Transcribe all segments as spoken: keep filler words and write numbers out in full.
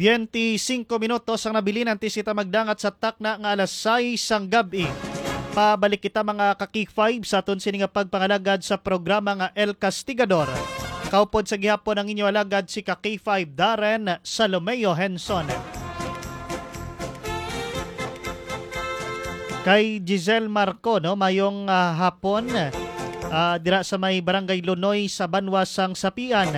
Twenty-cinco minutos ang nabilin antes kita magdangat sa takna nga alas sais sang gab-i. Pabalik kita, mga ka-K five, sa aton sini nga pagpangalagad sa programa nga El Castigador. Kaupod sa gihapon ang inyo alagad, si ka-K five Darren Salomeo Henson. Kay Giselle Marco, no, mayong, ah, hapon, ah, dira sa may Barangay Lunoy sa banwa sang Sapian.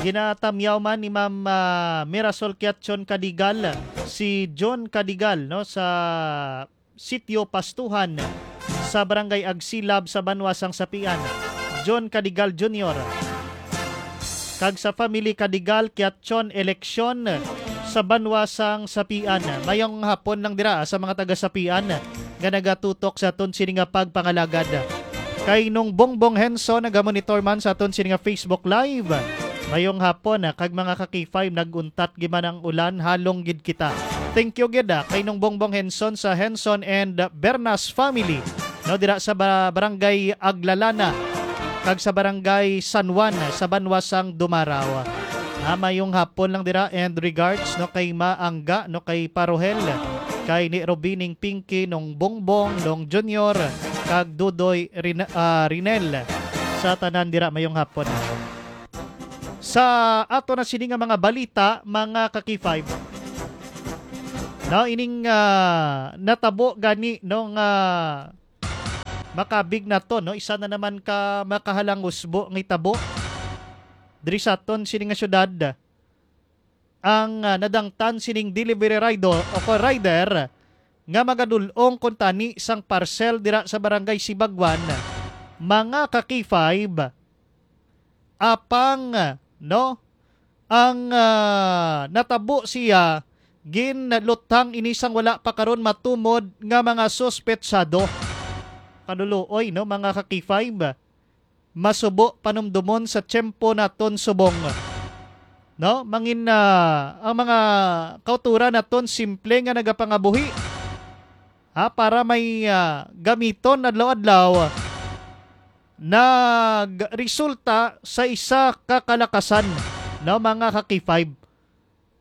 Ginatamyaw man ni Ma'am, ah, Mirasol Kiatchon Cadigal, si John Cadigal, no, sa Sitio Pastuhan sa Barangay Agsilab sa banwa sang Sapian, John Cadigal Junior, kag sa family Cadigal Kiatchon Eleksyon sa banwa sang Sapian. Mayong hapon lang dira sa mga taga Sapian nga nagatutok sa aton sini nga pagpangalagad. Kay Nung Bongbong Henson, nagamonitor man sa aton sini nga Facebook Live. Mayong hapon, ah, kag mga ka-K five, nag-untat gid man ang ulan, halong gid kita. Thank you gid, ah, kay Nung Bongbong Henson sa Henson and Bernas family, no, dira sa ba-, Barangay Aglalana kag sa Barangay San Juan sa banwa sang Dumaraw. Ah, mayong hapon lang dira, and regards, no, kay Ma Angga, no, kay Parohel, kay ni Robining Pinky, Nung Bongbong, Nung Junior, kag Dudoy Rina-, ah, Rinel. Sa tanan dira, mayong hapon. Sa ato na sini nga mga balita, mga ka-K five, no, ining, ah, natabo gani, no, nga makabig na to, no, isa na naman ka makahalangusbo nga itabo diri sa aton sini nga syudad. Ang, ah, nadangtan sining delivery rider o ko rider nga magadul-ong kuntani sang parcel dira sa Barangay Sibagwan, mga ka-K five, apang, no, ang, ah, natabo siya, ginluthang ini sang wala pa karon matumod nga mga suspetsado. Kaluluoy, no, mga ka-K five, masubo panumdumon sa tiyempo naton subong. No? Mangin, ah, ang mga kauturan naton simple nga nagapangabuhi. Ha, para may, ah, gamiton adlaw-adlaw, nagresulta sa isa ka kalakasan, no, mga ka-K five.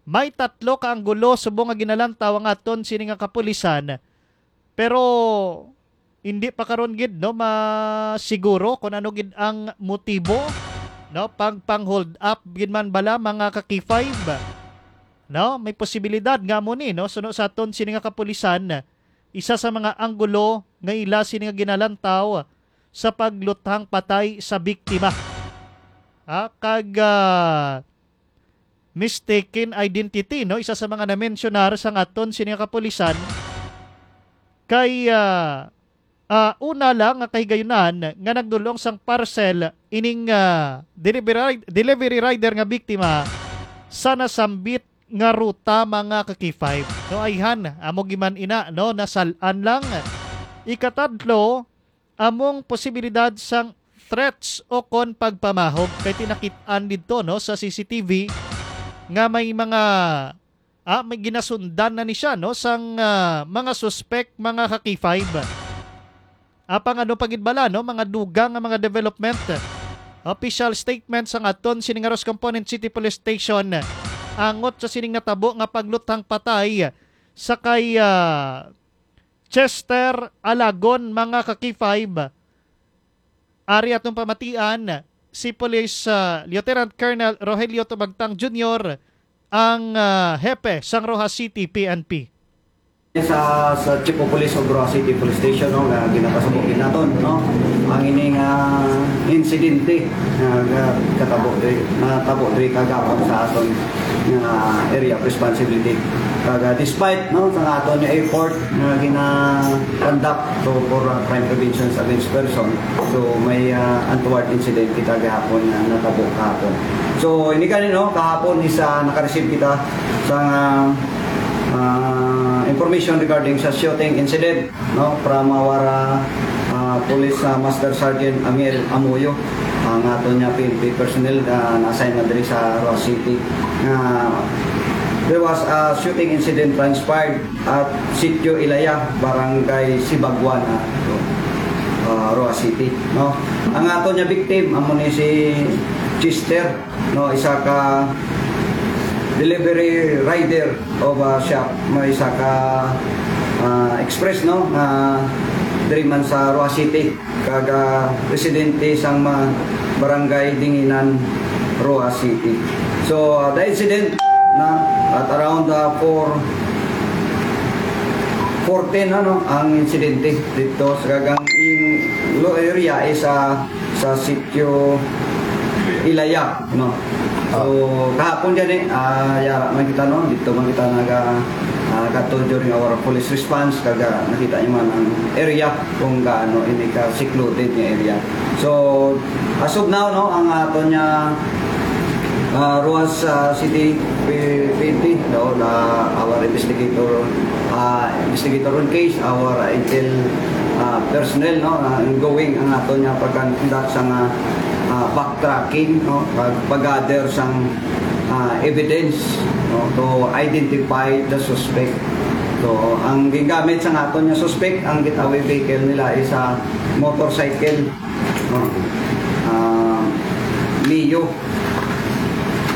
May tatlo ka anggulo subong nga ginalantaw ang aton sini nga kapulisan, pero hindi pa karon gid, no, masiguro kung ano gid ang motibo, no, pagpang-hold up gid man bala, mga ka-K five, no? May posibilidad nga amo ni, no, suno sa aton sini nga kapulisan, isa sa mga anggulo nga ila sini nga ginalantaw sa pagluthang patay sa biktima. Ha, kag, ah, mistaken identity, no? Isa sa mga na-mensionar sang aton sini nga kapulisan kay, ah, ah, una lang nga kahigayunan nga nagdulong sang parcel ining, ah, delivery, delivery rider nga biktima sa nasambit nga ruta, mga ka-K five. No, ayhan, amo giman ina, no, nasal-an lang. Ikatatlo, among posibilidad sang threats o kon pagpamahog, kay tinakit-an didto, no, sa C C T V nga may mga, ah, may ginasundan na ni siya, no, sang, ah, mga suspek, mga ka-K five. Apang ano pa gid bala, no, mga dugang nga mga development, official statement sang aton sining Aros Component City Police Station angot sa sining natabo nga pagluthang patay sa kay, ah, Chester Alagon, mga ka-K five. Ari atong pamatian, si Police, ah, Lieutenant Colonel Rogelio Tumagtang Junior, ang, ah, hepe sang Roxas City P N P. Sa, sa Chief of Police of Roxas City Police Station, no, nga ginapasabot gid naton, no, ang ining, ah, insidente nga, nga katabo diri, natabo diri kagahapon sa aton nga area of responsibility. Kag, ah, despite, no, sa aton nga effort nga gina-conduct to for, ah, crime prevention against person, so may, ah, untoward incident kita gahapon nga natabo kahapon. So, ini gani, no, kahapon is, ah, naka-receive kita sa, ah, ah, information regarding sa shooting incident, no, from our, ah, ah, Police, ah, Master Sergeant Amiel Amuyo, ang aton nga P N P personnel nga na-assign na diri sa Roxas City. Nga there was a shooting incident transpired at Sitio Ilaya, Barangay Sibagwan, ah, ah, Roxas City, no? Ang aton nga victim amo ni si Chester, no, isa ka delivery rider of a shop, may isa ka, ah, express, no, nga diri man sa Roxas City, kag, ah, residente sang ma-, barangay Dinginan, Roxas City. So, ah, the incident na at around, ah, four, four ten, ano, ang insidente dito sa kagang in lo area is, ah, sa Sitio Ilaya, no? So, kahapon gani, ah, yara man kita, no? Dito man kita naga, ah, kadto during our police response, kag, ah, nakita niyo man ang area kung gaano ini ka secluded nga area. So, as of now, no, ang aton nga, ah, Roxas, ah, City P-, P N P, no, na our investigator, ah, investigator on case, our intel, ah, personnel, no, ah, ongoing ang aton nga pagka-conduct sa nga, ah, backtracking, no, pag-, pag-gather sang, ah, evidence, no, to identify the suspect. So, ang gingamit sa aton nga suspect, ang getaway vehicle nila is a motorcycle, no, ah, Mio,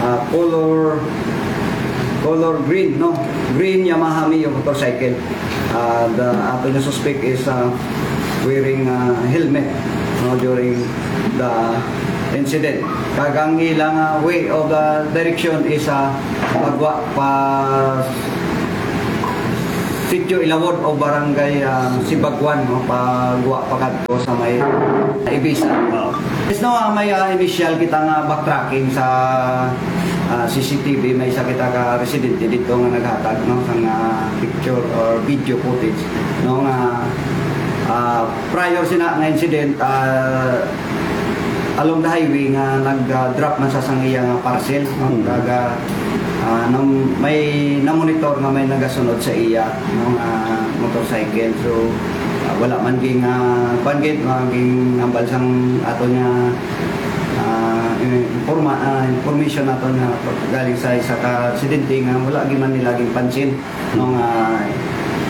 ah, color, color green, no? Green Yamaha Mio motorcycle. Ah, the, ato nga suspect is, ah, wearing, ah, helmet, no, during the incident. Kag ang ilang, ah, way of, ah, direction is, ah, pagwa pa Sitio Ilawod o Barangay, ah, Sibagwan, no, pagwa pa kadto sa may Ibisan. Yes, no, ah, may, ah, initial kita nga backtracking sa, ah, C C T V. May isa kita ka residente dito nga naghatag, no, sang, ah, picture or video footage, no, nga, ah, prior sina nga incident, ah, along the highway nga nag, ah, drop man sa sang iya nga parcel, no? Mm. Kag, ah, nam-, may namonitor nga may nagasunod sa iya, no, nga motorcycle. So, ah, wala man ging, ah, kuwan gid, ah, ging hambal sang aton nga, ah, in-, informa-, ah, information naton nga galing sa isa ka residente nga wala gid man nila ginpansin, no, nga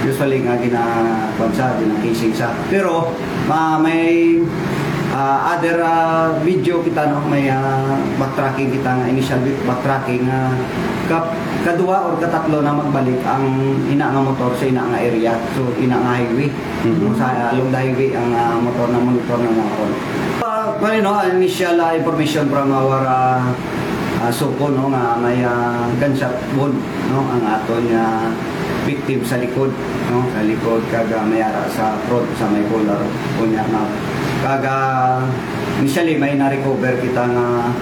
usually nga gina-, kuwan sa, gina-casing sa. Pero, ma-, may, ah, other, ah, video kita, no, may, ah, backtracking kita nga initial bi-, backtracking nga ka-, kadua or katatlo na magbalik ang ina nga motor sa ina nga area. So, ina nga highway. Mhm. Sa along the highway ang, ah, motor na monitor na mga kon. Ah, well, no, initial, ah, information from our, ah, ah, SOCO, no, nga may, ah, gunshot wound, no, ang aton nga victim sa likod, no, sa likod kag, ah, may ara sa front sa may collar. Unya nga, kag, ah, initially may na-recover kita nga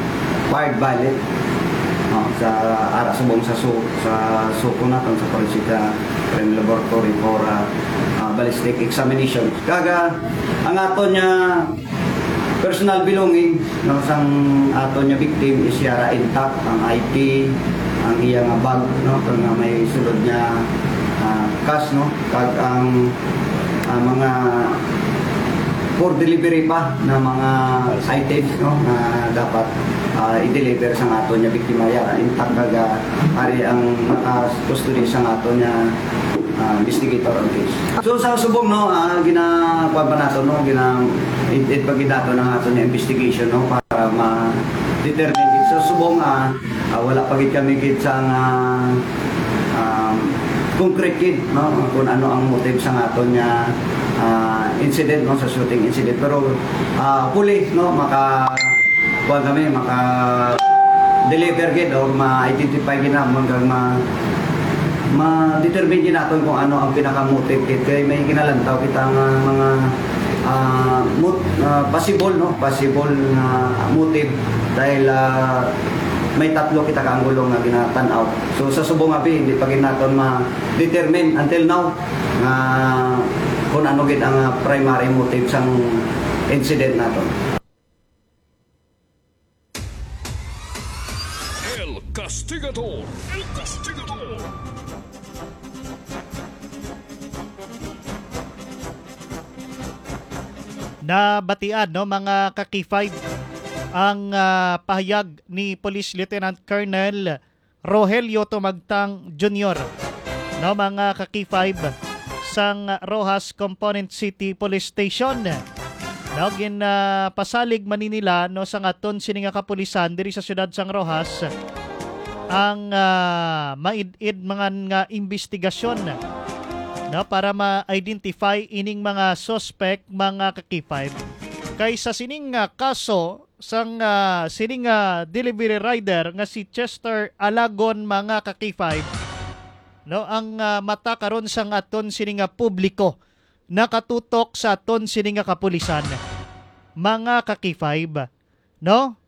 fired bullet, no, sa ara subong sa su-, sa SOCO naton sa forensic, ah, crime laboratory for, ah, ah, ballistic examination. Kag, ah, ang aton nga personal belonging, no, sang aton nga victim is yara intact, ang I D, ang iya nga bag, no, kag nga may sulod nga, ah, cash, no, kag ang, ah, mga for delivery pa na mga items, no, nga dapat, ah, i-deliver sa aton nga biktima, yara intact kag, ah, ari ang naka-custody sa aton nga ah, investigator ang case. So, sa subong, no, ah, gina-, kuwan pa nato, no, gina-, it, it pa gid nato ang aton nga investigation, no, para ma-determine gid. Sa subong, ah, ah, wala pa gid kami gid sa nga, um, concrete gid, no, kung ano ang motive sa aton nga, ah, incident, no, sa shooting incident. Pero, ah, hopefully, no, maka- kuwan kami, maka-deliver gid or ma-identify gid namon kag ma-, ma-determine gid naton kung ano ang pinaka-motive gid. Kay may ginalantaw kita nga mga, ah, mot-, ah, possible, no? Possible nga motive dahil, ah, may tatlo kita ka anggulo nga ginatan-aw. So, sa subong abi, hindi pa gid naton ma-determine until now nga kung ano gid ang, ah, primary motive sang incident naton. El Castigador. El Castigador. Nabatian, no, mga ka-K five, ang, ah, pahayag ni Police Lieutenant Colonel Rogelio Tumagtang Junior, no, mga ka-K five sang Roxas Component City Police Station. No, gin, ah, pasalig man ni nila, no, sang aton sini nga kapulisan diri sa siyudad sang Roxas ang, ah, maid-id mga nga imbestigasyon, no, para ma-identify ining mga suspect, mga ka-K five. Kay sa sining, ah, kaso sang, ah, sining, ah, delivery rider nga si Chester Alagon, mga ka-K five, no, ang, ah, mata karon sang aton sini nga publiko nakatutok sa aton sini nga kapulisan, mga ka-K five, no?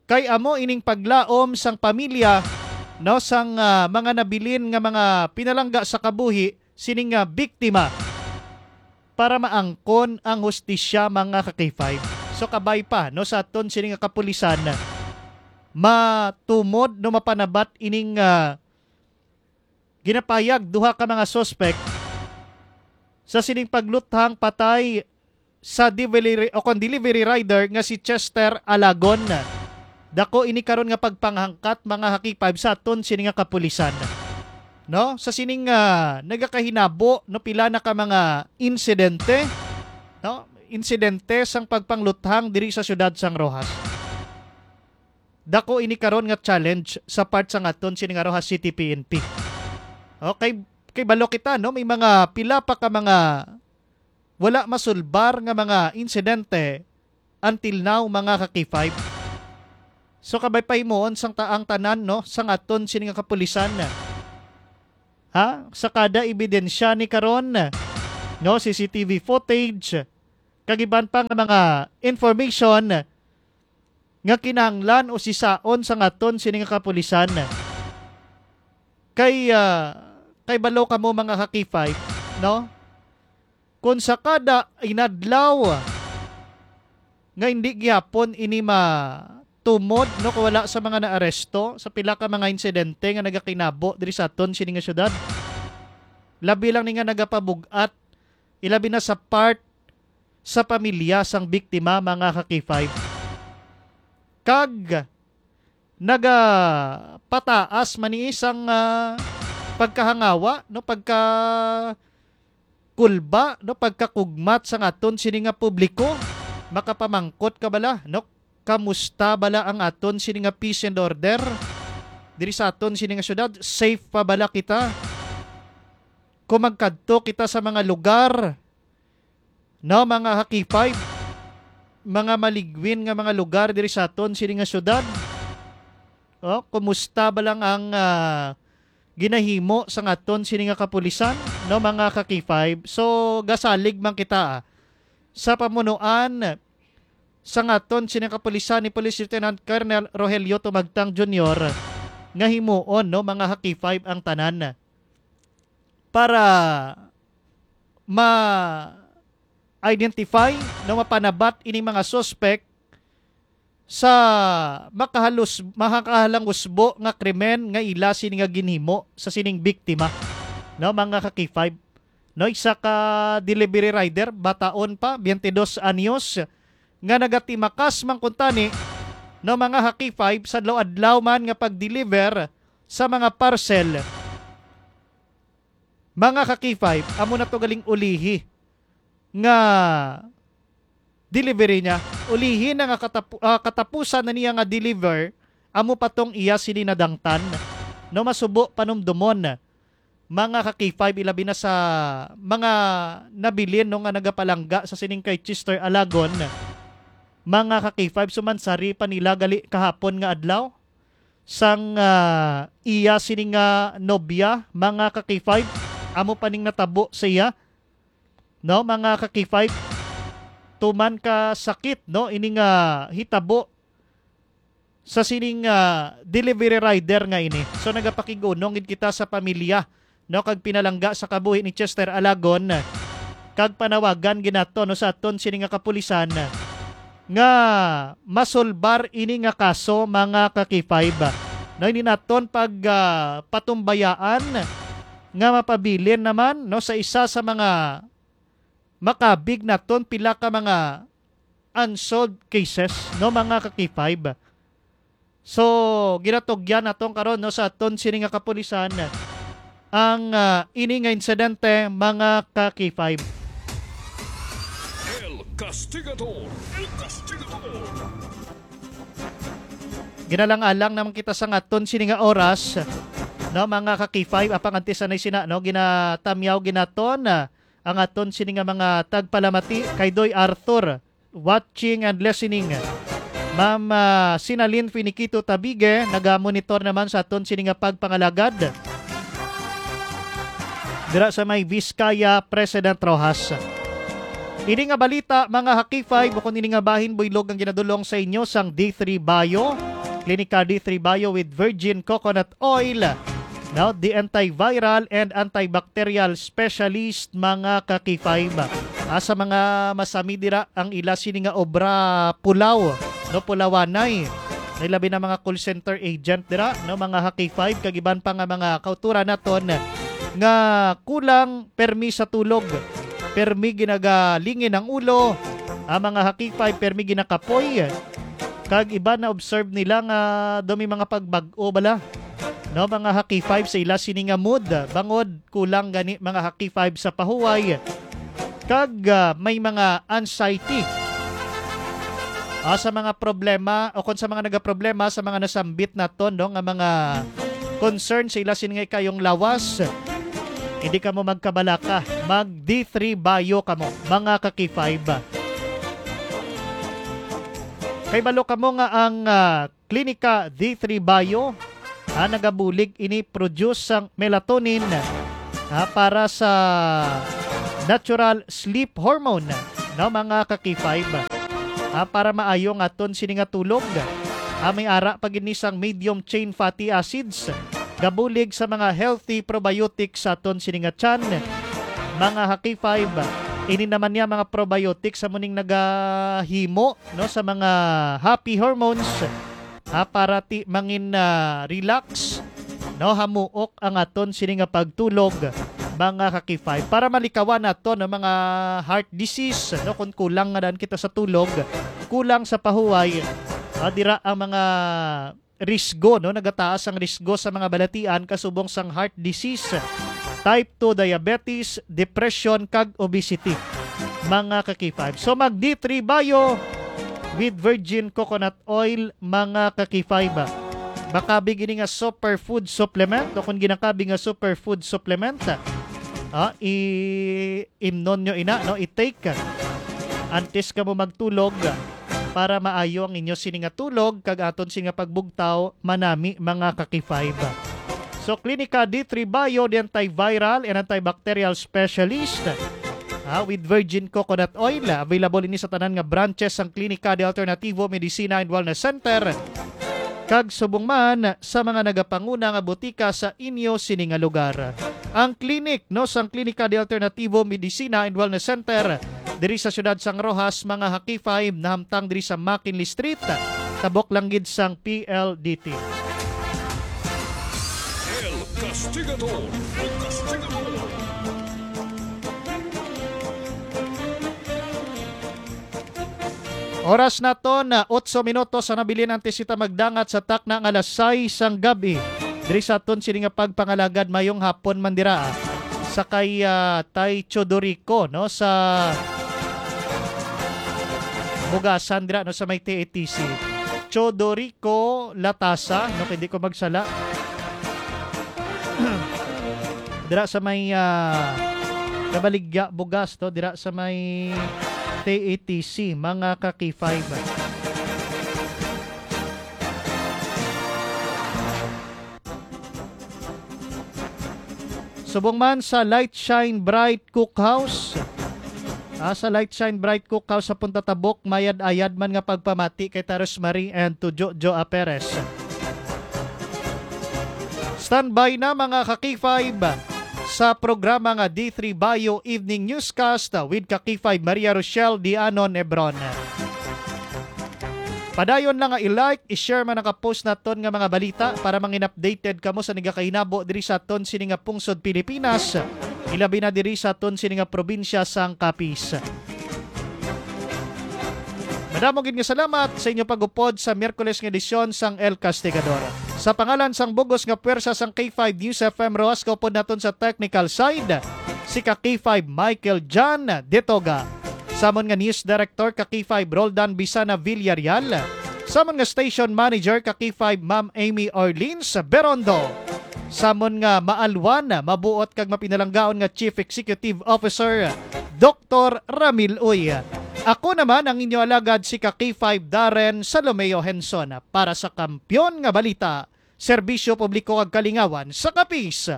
Kay amo ining paglaom sang pamilya, no, sang, ah, mga nabilin nga mga pinalangga sa kabuhi sining, ah, biktima para maangkon ang hustisya, mga ka-K five. So, kabay pa, no, sa aton sini nga kapulisan, matumod, no, mapanabat ining, ah, ginapayag duha ka mga suspect sa sining pagluthang patay sa delivery, o kon delivery rider nga si Chester Alagon. Dako ini karon nga pagpanghangkat, mga ka-K five, sa aton sini nga kapulisan. No? Sa sining, ah, nagakahinabo, no, pila na ka mga insidente, no? Insidente sang pagpangluthang diri sa siyudad sang Roxas. Dako ini karon nga challenge sa part sang aton sini nga Roxas City P N P. Okay, kay balo kita, no, may mga pila pa ka mga wala masulbar nga mga insidente until now, mga ka-K five. So, kabay pahimuon sang taang tanan, no, sang aton sini nga kapulisan, ha, sa kada ebidensya ni karon, no, C C T V footage, kag iban pa nga mga information nga kinahanglan usisaon sang aton sini nga kapulisan. Kay, ah, kay balo kamo, mga ka-K five, no? Kung sa kada inadlaw nga hindi gihapon ini matumod, no, kung wala sa mga naaresto sa pila ka mga insidente nga nagakinabo diri sa aton sini nga syudad, labi lang ni nga nagapabug-at, ilabi na sa part sa pamilya sang biktima, mga ka-K five. Kag nagapataas man ni isang, ah, pagkahangawa, no, pagka kulba, no, pagkakugmat sang aton sini nga publiko. Makapamangkot ka bala, no? Kamusta bala ang aton sini nga peace and order diri sa aton sini nga syudad? Safe pa bala kita kung magkadto kita sa mga lugar, no, mga ka-K five, mga maligwin nga mga lugar diri sa aton sini nga syudad? Oh, kumusta ba lang ang, ah, ginahimo sang aton sini nga kapulisan, no, mga ka-K five? So, gasalig man kita, ah, sa pamunuan sang aton sini nga kapulisan ni Police Lieutenant Colonel Rogelio Tumagtang Junior nga himuon, no, mga ka-K five, ang tanan para ma-identify, no, mapanabat ining mga suspect sa makahalus-, makakahalangusbo nga krimen nga ila sini nga ginhimo sa sining biktima, no, mga ka-K five. No, isa ka delivery rider, bataon pa, twenty dos anyos, nga nagatimakas man kuntani, no, mga ka-K five, sa adlaw-adlaw man nga pag-deliver sa mga parcel. Mga ka-K five, amo na to galing ulihi nga delivery niya. Ulihi na nga katapu-, ah, katapusan na niya nga deliver, amo pa tong iya sini nadangtan. No, masubo panumdumon, mga ka-K five, ilabi na sa mga nabilin, no, nga nagapalangga sa sining kay Chester Alagon. Mga ka-K five, sumansari pa nila gali kahapon nga adlaw sang, ah, iya sini nga nobya, mga ka-K five, amo pa ning natabo sa iya, no, mga ka-K five, tuman ka sakit, no, ini nga hitabo sa sining, ah, delivery rider nga ini. So, nagapakig-unong gid kita sa pamilya, no, kag pinalangga sa kabuhi ni Chester Alagon, kag panawagan gid nato, no, sa aton sini nga kapulisan nga masulbar ini nga kaso, mga ka-K five. No, ini naton pag, ah, patumbayaan nga mapabilin naman, no, sa isa sa mga makabig naton pila ka mga unsolved cases, no, mga ka-K five. So, ginatugyan naton karon, no, sa aton sini nga kapulisan ang, ah, ini nga insidente, mga ka-K five. El Castigador. El Castigador. Ginalang-alang naman kita sa aton sini nga oras, no, mga ka-K five, apang antes anay sina, no, ginatamyaw ginaton, ah, ang aton sini nga mga tagpalamati kay Doy Arthur, watching and listening. Ma'am, ah, Sinalin Finiquito Tabige, nagamonitor naman sa aton sini nga pagpangalagad dira sa may Vizcaya, President Roxas. Ini nga balita, mga ka-K five, ukon ini nga bahin buylog ang ginadulong sa inyo sang D three Bio, Klinika D three Bio with virgin coconut oil. Now, the antiviral and antibacterial specialist, mga ka-K five. Ah, sa mga masami dira ang ila sini nga obra pulaw, no, pulawanay. May labi na mga call center agent dira, no, mga ka-K five, kag iban pa nga mga kauturan naton nga kulang permi sa tulog, permi ginagalingin ang ulo, ang mga ka-K five permi ginakapoy, kag iban na observe nila nga daw may mga pagbag-o bala, no, mga ka-K five, sa ila sini nga mood, bangod kulang gani, mga ka-K five, sa pahuway, kag, ah, may mga anxiety. Ah, sa mga problema o kung sa mga nagaproblema sa mga nasambit naton, no, nga mga concern sa ila sini nga ikayong lawas, hindi kamo magkabalaka, mag D three Bio kamo, mga ka-K five. Kay balo kamo nga ang, ah, Klinika D three Bio, ah, nagabulig ini produce sang melatonin, ah, para sa natural sleep hormone, no, mga ka-K five. Ah, para maayo nga aton sini nga tulog. Ah, may ara pa gid ni sang medium chain fatty acids, gabulig sa mga healthy probiotics sa aton sini nga tiyan. Mga ka-K five, ini naman niya mga probiotics sa muning nagahimo, no, sa mga happy hormones, ha, para ti mangin, ah, relax, no, hamuok ang aton sini nga pagtulog, mga ka-K five, para malikawan naton ang mga heart disease, no, kung kulang nga daan kita sa tulog, kulang sa pahuway, ah, dira ang mga risgo, no, nagataas ang risgo sa mga balatian kasubong sang heart disease, type two diabetes, depression, kag obesity, mga ka-K five. So, mag D three Bio with virgin coconut oil, mga ka-K five. Makabig ini nga superfood supplement, o kung ginakabig nga superfood supplement, ah, i-, imnon nyo ina, no, i-take antes kamo magtulog para maayo ang inyo sini nga tulog kag aton sini nga pagbugtaw, manami, mga ka-K five. So, Klinika D three Bio, the antiviral and antibacterial specialist, ah, with virgin coconut oil. Available ini sa tanan nga branches sang Klinika de Alternativo Medicina and Wellness Center kag subong man sa mga nagapanguna nga butika sa inyo sini nga lugar. Ang clinic, no, sang Klinika de Alternativo Medicina and Wellness Center diri sa siyudad sang Roxas, mga ka-K five, nahamtang diri sa McKinley Street, tabok lang gid sang P L D T. El Castigador. El Castigador. Oras naton na otso minutos ang nabilin antes kita magdangat sa takna nga alas sais sang gab-i. Diri sa aton sini nga pagpangalagad, mayong hapon man dira, ah, sa kay, ah, Tay Chodorico, no, sa Bugasan dira, no, sa may T A T C. Chodorico Latasa, no, kay di ko magsala. Dira sa may, ah, Kabaligya, Bugas, to, dira sa may T A T C, mga ka-K five. Subong man sa Light Shine Bright Cookhouse. Ah, sa Light Shine Bright Cookhouse sa Punta Tabok, mayad-ayad man nga pagpamati kay Taros Marie and to Jojo Aperes. Standby na, mga ka-K five, sa programa nga D three Bio Evening Newscast with ka-K five Maria Rochelle Dianon Hebron. Padayon lang nga i-like, i-share man ang ka-post naton nga mga balita para mangin updated kamo sa nagakahinabo diri sa aton sini nga pungsod Pilipinas, ilabi na diri sa aton sini nga probinsya sang Capiz. Madamo gid nga salamat sa inyo pag-upod sa Miyerkules nga edisyon sang El Castigador. Sa pangalan sang bugos nga puwersa sang K five News F M Roxas, kaupod naton sa technical side, si ka K five Michael John Detoga. Samon nga News Director ka K five Roldan Bisana Villarreal. Samon nga station manager ka K five, Ma'am Amy Orleans Berondo. Samon nga maalwan, mabuot kag mapinalanggaon nga Chief Executive Officer, Doktor Ramil Uy. Ako naman ang inyo alagad, si ka K five Darren Salomeo Henson, para sa Kampiyon nga Balita, Serbisyo Publiko kag Kalingawan sa Kapis,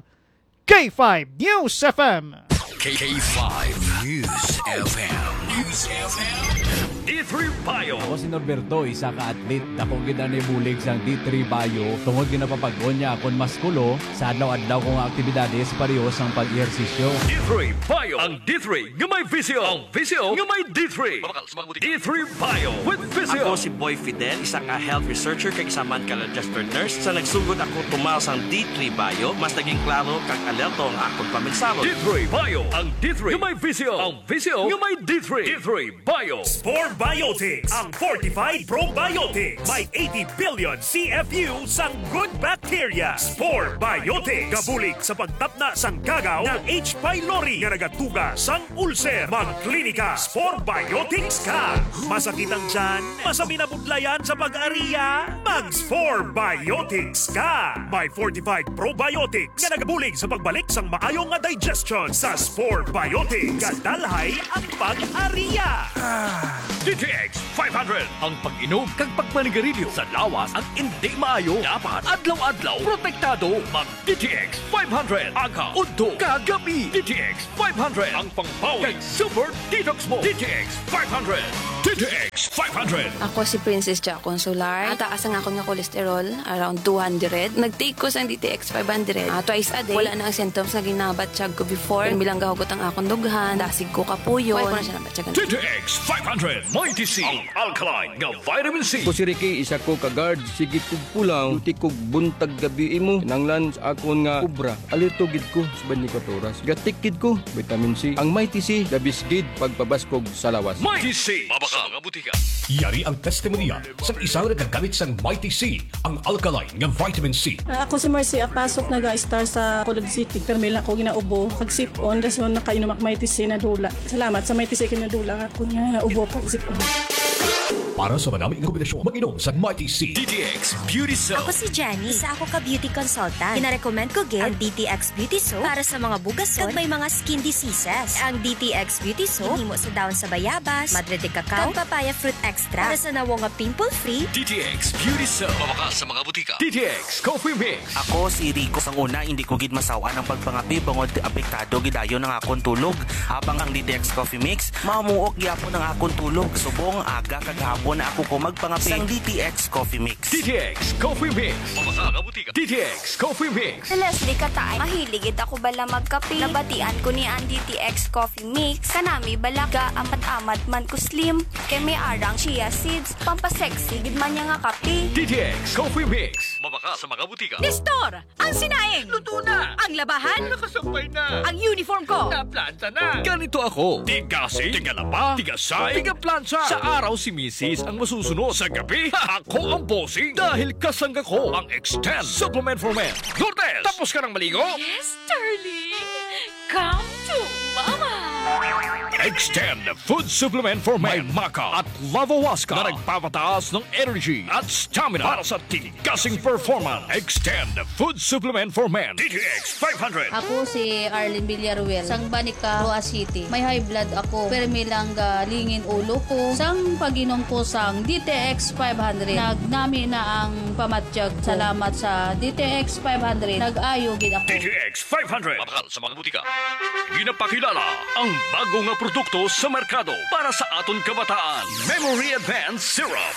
K five News F M. K five News F M. News F M. D three Bio. Ako si Norberto, isa ka athlete. Dako gid ang nabulig sang D three Bio tungod ginapapag-on niya akon maskulo sa adlaw-adlaw ko nga aktibidades, pareho sang pag-ehersisyo. D three Bio, ang D three nga may Visio. Ang Visio nga may D three. D three Bio with Visio. Ako si Boy Fidel, isa ka health researcher kag isa man ka registered nurse. Sa nagsugod ako tumal sang D three Bio, mas naging klaro kag alerto ang akon paminsaro. D three Bio, ang D three nga may Visio. Ang Visio nga may D three. D three Bio. Spore Biotics, ang fortified probiotics. May eighty billion C F U sang good bacteria. Spore Biotics. Gabulig sa pagtapna sang kagaw nga H. pylori nga nagatuga sang ulcer. Magklinika Spore Biotics ka. Masakit ang tiyan? Masabi na budlayan sa pag-ariya? Mag Spore Biotics ka. May fortified probiotics nga nagabulig sa pagbalik sang maayo nga digestion. Sa Spore Biotics, gadalhay ang pag-ariya. D T X five hundred, ang pag-inom kag pagmanigarilyo sa lawas ang indi maayo. Dapat adlaw-adlaw protektado. Mag D T X five hundred, aga, udto, kag gabi. D T X five hundred, ang pangbawi kag super detox mo. D T X five hundred. D T X five hundred. Ako si Princess Jacon Solar. Mataas ang akon nga cholesterol, around two hundred. Nag-take ko sang D T X five hundred, ah, twice a day. Wala na ang symptoms nga ginabatyag ko before. Ang bilang gahugot ang akon dughan, dasig ko kapuyon. Wala ko na siya nabatyagan. D T X five hundred, Mighty C, ang alkaline nga vitamin C. Ako si Ricky, isa ko ka guard. Sige kog pulaw, duty kog buntag gabi imo. Kinahanglan sa akon nga obra, alerto gid ko sa twenty-four oras. Gatik gid ko, vitamin C. Ang Mighty C, the best gid pagpabaskog sa lawas. Mighty C, mabakal nga butika. Yari ang testimonya sang isa nga nagagamit sang Mighty C, ang alkaline nga vitamin C. Ah, ako si Marcy Apasok, naga-star sa Colod City. Pero may lang ako ginaubo, kag sipon, dason nakainom ako Mighty C, nadula. Salamat sa Mighty C, kinadula ako nga ubo, kag sipon. Para sa manami nga kombinasyon, mag-inom sa Mighty C. D T X Beauty Soap. Ako si Jenny. Isa ako ka beauty consultant. Ginarecommend ko gid ang D T X Beauty Soap para sa mga bugason kag may mga skin diseases. Ang D T X Beauty Soap ginhimo sa dahon sa bayabas, madre de cacao, kag papaya fruit extract para sa nawong nga pimple-free. D T X Beauty Soap. Mabakal sa mga butika. D T X Coffee Mix. Ako si Rico. Sang una, hindi ko gid masaw-an ang pagpangape bangod apektado gid dayon ang akon tulog. Habang ang D T X Coffee Mix, mamuok gyapon ang akon tulog. Subong aga kag hapon na ako ko magpangape. Sang D T X Coffee Mix. D T X Coffee Mix. Mabasa nga butika. D T X Coffee Mix. Si Leslie Kataay, mahilig gid ako bala magkape. Nabatian ko ni ang D T X Coffee Mix. Kanami bala ga amat-amat man ko slim. Kay may arang chia seeds. Pampasexy gid man niya nga kape. D T X Coffee Mix. Mabakal sa mga butika. Nestor, ang sinaing. Luto na. Ang labahan. Nakasampay na. Ang uniform ko. Naplanta na. Ganito ako. Tigasig, tigalaba, tigasay, tigaplantsa. Sa araw si misis ang masusunod. Sa gabi, ako ang bossing. Dahil kasangga ko ang Extend Supplement for Men. Lourdes, tapos ka nang maligo? Yes, darling. Come to Mama. Extend Food Supplement for Men. May maca at lavawaska na nagpapataas ng energy at stamina para sa tigasing performance. Extend Food Supplement for Men. D T X five hundred. Ako si Arlene Villaruel, sang Banica, Roa City. May high blood ako, pero may lang galingin ulo ko. Sang pag-inom ko sang D T X five hundred, nagnami na ang pamatyag ko. Salamat sa D T X five hundred. Nag-ayo gid ako. D T X five hundred. Mabakal sa mga butika. Ginapakilala ang bago nga produkto sa merkado para sa aton kabataan, Memory Advance Syrup.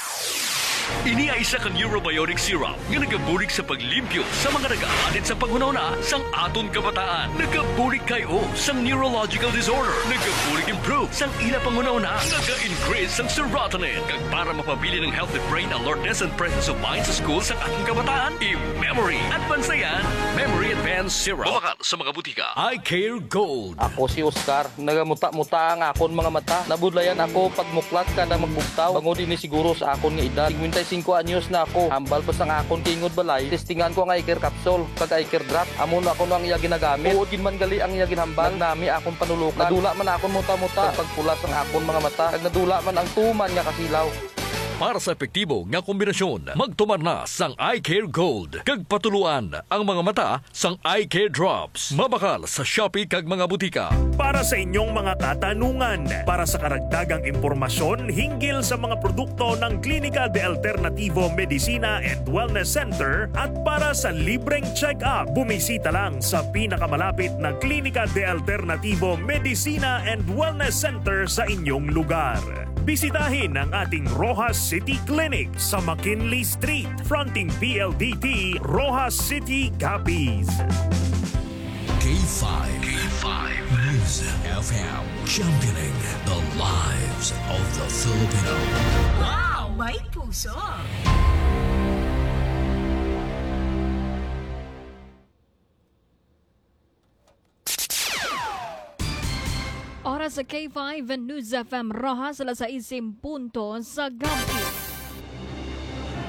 Ini ay isa ka neurobiotic syrup nga nagabulig sa paglimpyo sa mga nagaanit sa panghunahuna sang aton kabataan. Nagabulig kay o sang neurological disorder. Nagabulig improve sang ila panghunahuna. Naga-increase sang serotonin. Kag para mapabilin ang healthy brain alertness and presence of mind sa school sang aton kabataan, i-Memory Advance na yan. Memory Advance Syrup. Mabakal sa mga butika. Eye Care Gold. Ako si Oscar. Nagamuta-muta ang akon mga mata. Nabudlayan ako pagmuklat kada magbugtaw. Bangod ini siguro sa akon nga edad. Singkwenta y singko anyos na ako. Hambal pa sang akon tingod balay, testingan ko ang Eye Care Capsule kag Eye Care Drop. Amo na kuno ang iya ginagamit. Tuod gid man gali ang iya ginhambal. Nagnami akon panulukan. Nadula man akon muta-muta. Kag pagpula sang akon mga mata. Kag nadula man ang tuman nga kasilaw. Para sa epektibo nga kombinasyon, magtumar na sang Eye Care Gold kag patuluan ang mga mata sang Eye Care Drops. Mabakal sa Shopee kag mga butika. Para sa inyong mga katanungan, para sa karagdagang impormasyon hinggil sa mga produkto ng Klinika de Alternativo Medicina and Wellness Center at para sa libreng check-up, bumisita lang sa pinakamalapit na Klinika de Alternativo Medicina and Wellness Center sa inyong lugar. Bisitahin ang ating Roxas City Clinic sa McKinley Street, fronting P L D T, Roxas City, Capiz. K five. K five News F M, championing the lives of the Filipino. Wow! May puso! Oras sa K five News F M Roxas, alas sais en punto sa gabi.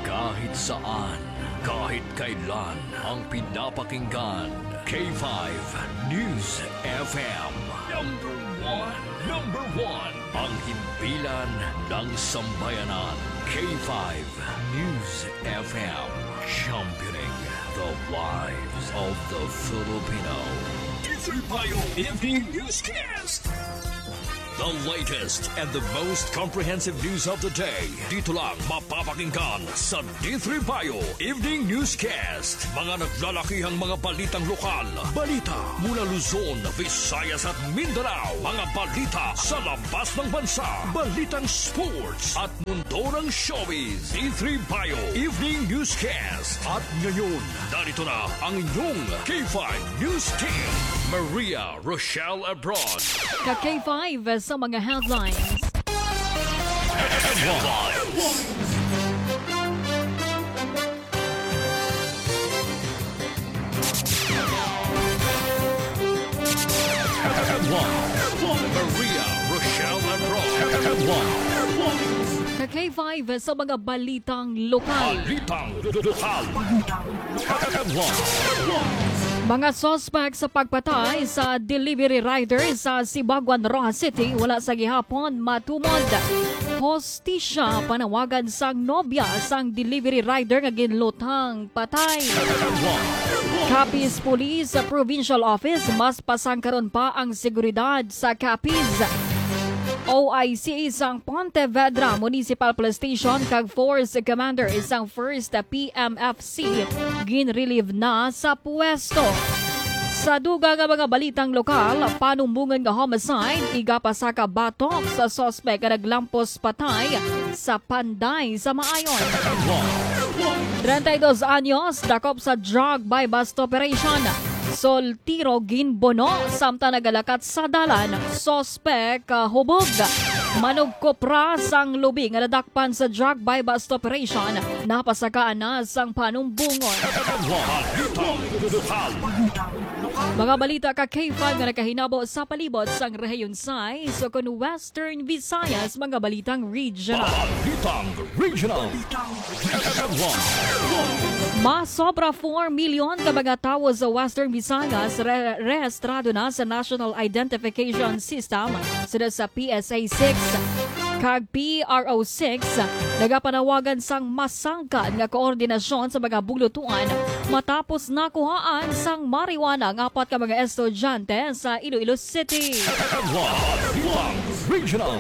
Kahit saan, kahit kailan, ang pinapakinggan, K five News F M. Number one, number one, ang himpilan ng sambayanan, K five News F M, championing the lives of the Filipino. Disregard Evening Newscast. The latest and the most comprehensive news of the day. Dito lang mapapakinggan sa D three Bio Evening Newscast. Mga naglalakihang mga balitang lokal. Balita mula Luzon, Visayas at Mindanao. Mga balita sa labas ng bansa. Balitang sports at mundo ng showbiz. D three Bio Evening Newscast. At ngayon, narito na ang inyong K five News Team. Maria Rochelle Abroad. Ka K five sa mga headlines. Headlines. Headlines. Maria Rochelle Abroad. Headlines. Ka K five sa mga balitang lokal. Balitang lokal. Mga suspect sa pagpatay sa delivery rider sa Sibaguan, Roxas City, wala sa gihapon matumod hostisya. Panawagan sang nobya sang delivery rider nga ginlutang patay. Capiz Police Provincial Office, mas pasangkaron pa ang seguridad sa Capiz. O I C sang Pontevedra Municipal Police Station kag Force Commander sang First P M F C ginrelieve na sa pwesto. Sa dugang nga mga balitang lokal, panumbongon nga homicide, igapasaka batok sa suspek nga naglampos patay sa Panday sa Maayon. Treinta y dos anyos, dakop sa drug buy-bust operation. Soltiro ginbuno samtang nagalakat sa dalan. Suspek, ah, hubog. Manugkopra sang lubi nga nadakpan sa drug buy-bust operation, napasakaan na sang panumbongon. Mga balita ka K five nga nakahinabo sa palibot sang rehiyon sais o kon Western Visayas, mga balitang regional. Balitang regional. Masobra four million ka mga tawo sa Western Visayas re-, rehistrado na sa National Identification System, sina sa P S A six kag P R O six, nagapanawagan sang masangkad nga koordinasyon sa mga bulutuan matapos nakuhaan sang marijuana ang apat ka mga estudyante sa Iloilo City. Balitang regional.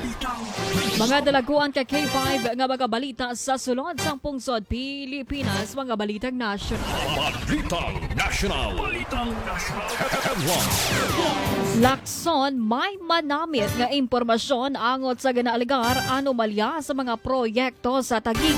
Mga dalaguan ka K five nga mga balita sa sulod sang pungsod Pilipinas, mga balitang nasyonal. Balitang nasyonal. Balitang nasyonal. Lacson, may manamit nga impormasyon angot sa ginaalegar anomalya sa mga proyekto sa Taguig.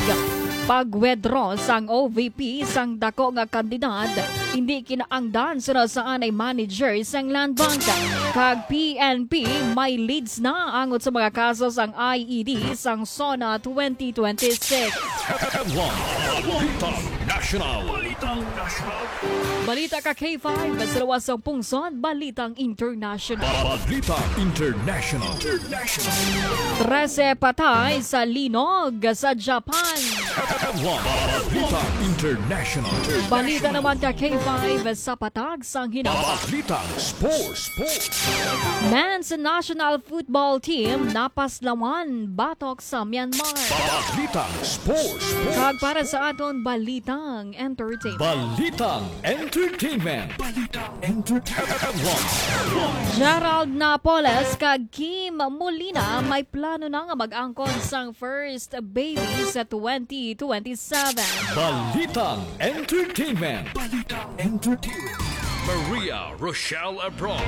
Pag-withdraw sang O V P sang dako nga kandidat, hindi kinaangdan sunod sa anay manager sang Land Bank. Kag P N P, may leads na angot sa mga kaso sang I E D sang SONA twenty twenty-six. Headline. Balitang National. Balita ka K five, sa luwas sang pungsod, Balitang International. Balita International. Trese patay sa linog sa Japan. Headline. Balita International. Balita naman ka K five sa patag sang hinawa. Balita Sports. Sports. Men's national football team napaslawan batok sa Myanmar. Balita Sports. Sports. Kag para sa aton balitang entertainment. Balitang entertainment. Balitang entertainment. Gerald Napoles kag Kim Molina may plano na nga mag-angkon sang first baby sa twenty twenty-seven. Balitang entertainment. Balitang entertainment. Maria Rochelle Abron.